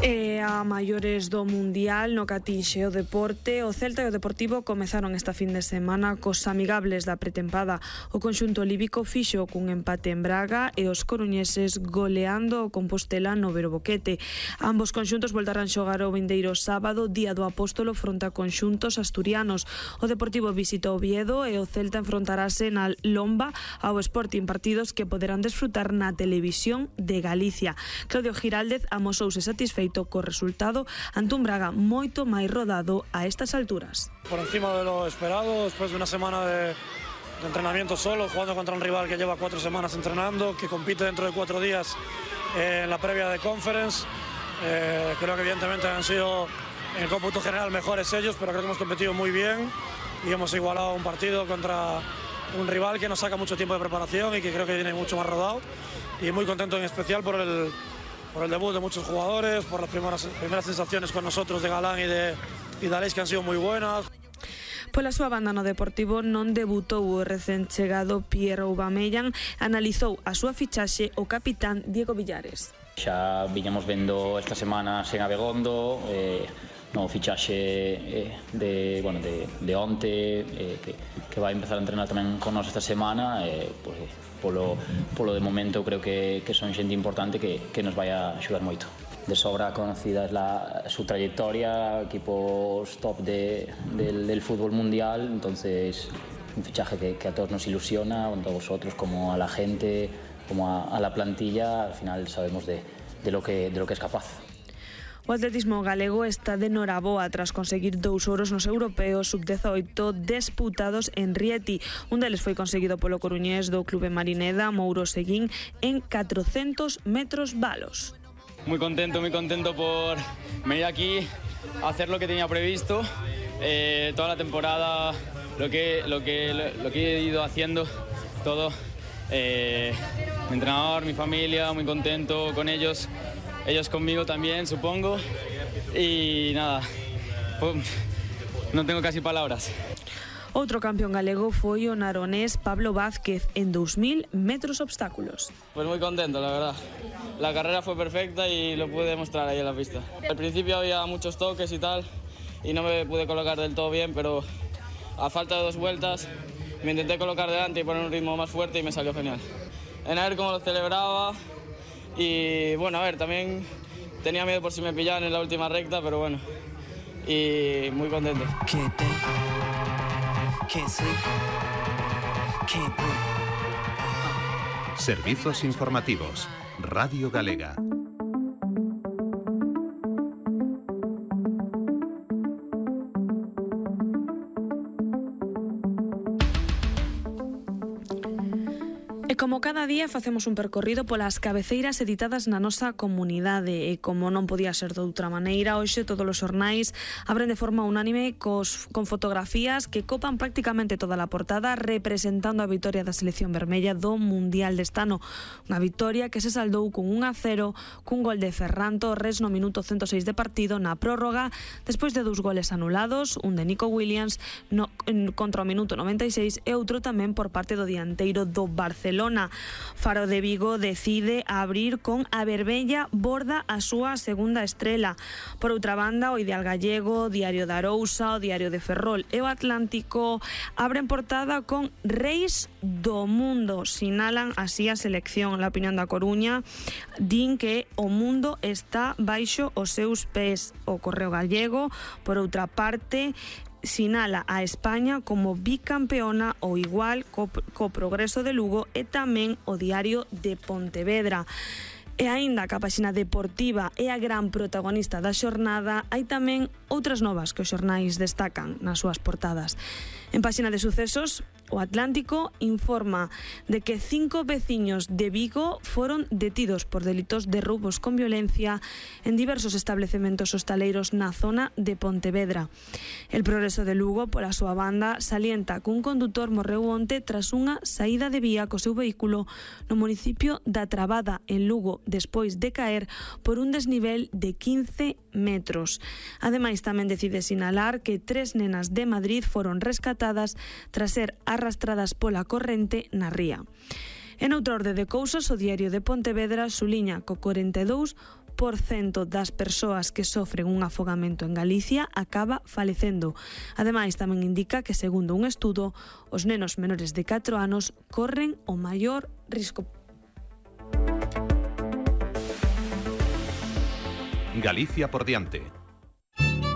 E a maiores do Mundial no que atinxe o deporte, o Celta e o Deportivo comezaron esta fin de semana cos amigables da pretempada. O conxunto líbico fixo cun empate en Braga e os coruñeses goleando o Compostela no Verboquete. Ambos conxuntos voltarán xogar o vindeiro sábado, día do Apóstolo, fronte a conxuntos asturianos. O Deportivo visita Oviedo e o Celta enfrontarase na Lomba ao Sporting, partidos que poderán desfrutar na televisión de Galicia. Claudio Giraldez amosouse satisfeito co resultado ante un Braga moito máis rodado a estas alturas. Por encima de lo esperado, después de una semana de entrenamiento solo, jugando contra un rival que lleva 4 semanas entrenando, que compite dentro de 4 días en la previa de Conference. Creo que evidentemente han sido en el cómputo general mejores ellos, pero creo que hemos competido muy bien y hemos igualado un partido contra un rival que nos saca mucho tiempo de preparación y que creo que viene mucho más rodado, y muy contento en especial por el debut de muchos jugadores, por las primeras sensaciones con nosotros de Galán y de Aleix, que han sido muy buenas. Pola súa banda, no Deportivo non debutou o recén chegado Pierre Aubameyang. Analizou a súa fichaxe o capitán Diego Villares. Xa viñamos vendo esta semana sen Abegondo, no fichaxe de onte, que vai empezar a entrenar tamén con nós esta semana. Polo de momento creo que son xente importante que nos vai a axudar moito. De sobra conocida es su trayectoria, equipos top del fútbol mundial, entonces un fichaje que a todos nos ilusiona, tanto a vosotros como a la gente, como a la plantilla. Al final sabemos de lo que es capaz. O atletismo galego está de noraboa tras conseguir 2 oros nos europeos sub-18 disputados en Rieti. Un deles foi conseguido polo coruñés do Clube Marineda, Mouro Seguín, en 400 metros valos. Muy contento por venir aquí a hacer lo que tenía previsto. Toda la temporada, lo que he ido haciendo, todo. Mi entrenador, mi familia, muy contento con ellos. Ellos conmigo también, supongo. Y nada, no tengo casi palabras. Outro campeón galego foi o naronés Pablo Vázquez en 2000 metros obstáculos. Pues muy contento, la verdad. La carrera fue perfecta y lo pude demostrar ahí en la pista. Al principio había muchos toques y tal, y no me pude colocar del todo bien, pero a falta de 2 vueltas me intenté colocar delante y poner un ritmo más fuerte y me salió genial. En a ver cómo lo celebraba. Y bueno, a ver, también tenía miedo por si me pillaban en la última recta, pero bueno, y muy contento. Servizos informativos, Radio Galega. E como cada día facemos un percorrido polas cabeceiras editadas na nosa comunidade, e como non podía ser de outra maneira, hoxe todos os xornais abren de forma unánime con fotografías que copan prácticamente toda a portada, representando a vitoria da selección vermella do Mundial deste ano. Unha vitoria que se saldou con 1-0 cun gol de Ferran Torres no minuto 106 de partido na prórroga, despois de 2 goles anulados, un de Nico Williams contra o minuto 96 e outro tamén por parte do dianteiro do Barcelona. Faro de Vigo decide abrir con a Verbella borda a súa segunda estrela. Por outra banda, o Ideal Gallego, Diario da Arousa, o Diario de Ferrol e o Atlántico abren portada con Reis do Mundo. Sinalan así a selección. La opinión da Coruña din que o mundo está baixo os seus pés. O Correo Gallego, por outra parte, sinala a España como bicampeona ou igual co Progreso de Lugo e tamén o Diario de Pontevedra. E aínda que a páxina deportiva é a gran protagonista da xornada, hai tamén outras novas que os xornais destacan nas súas portadas. En páxina de sucesos, o Atlántico informa de que 5 veciños de Vigo foron detidos por delitos de roubos con violencia en diversos establecementos hostaleiros na zona de Pontevedra. El Progreso de Lugo, pola súa banda, salienta que un condutor morreu onte tras unha saída de vía co seu vehículo no municipio da Trabada, en Lugo, despois de caer por un desnivel de 15 metros. Ademais, tamén decide sinalar que 3 nenas de Madrid foron rescatadas tras ser arrastradas pola corrente na ría. En outra orde de cousas, o Diario de Pontevedra suliña co 42% das persoas que sofren un afogamento en Galicia acaba falecendo. Ademais, tamén indica que, segundo un estudo, os nenos menores de 4 anos corren o maior risco. Galicia por diante.